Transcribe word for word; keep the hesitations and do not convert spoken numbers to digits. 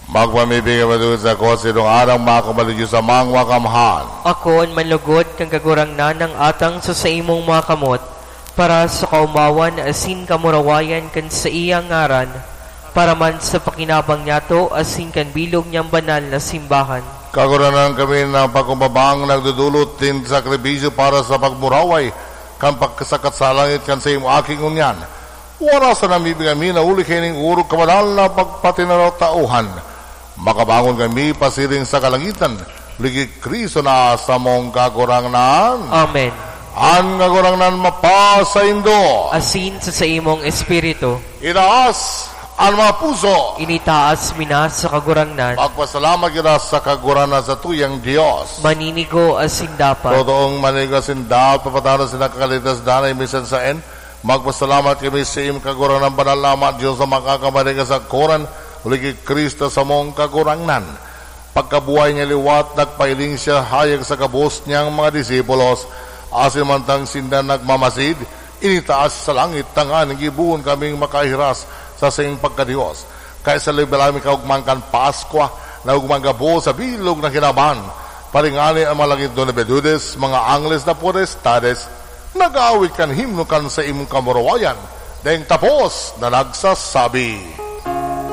Magpamibigay matugid sa kotse dong arang mga kamaligyos sa mga kamhan. Ako an manlugod kan Kagurangnan ng atang sa saimong mga kamot, para sa kaumawan asin kamurawayan kan saiyang ngaran, para man sa pakinabang niyato asin kan bilog niyang banal na simbahan. Kagurangnan, kami na pagkumbabang nagdudulot nin sakripisyo para sa pagmuraway kan pagkasakat sa langit kan saimo aki ngunyan. Wara sa namibigay mi na huli kaining orog kabanal na pagpatinatauhan. Makabangon kami pasiring sa kalangitan, huli ki Cristo na samong Kagurangnan. Amen. An Kagurangnan mapasaindo. Asin sa saimong espiritu. Itaas an mga puso. Initaas mi na sa Kagurangnan. Magpasalamat kita sa Kagurangnan sa tuyang Dios. Maninigo asin dapat. Totoong maninigo asin dapat, papatanos na kakaligtas danay minsan saen. Magpasalamat kami sa imo, Kagurangnan, banal na Ama, Dios na makakamaringa sa koran, huli ki Cristo samong Kagurangnan. Pagkabuhay niya liwat, nagpahiling siya hayag sa gabos niyang mga disipulos. Asin mantang sinda nagmamasid, initaas sa langit, tanganing gibohon kaming makahiras sa saiyang pagka-Dios. Kaya sa labi-labi kaogmahan kan Paskwa, na ugmang gabos sa bilog na kinaban, paringani an mga langit, Dona Bedudes, mga angles na potestades, nag-aawit kan himno kan saimong kamurawayan, daing tapos na nagsasabi.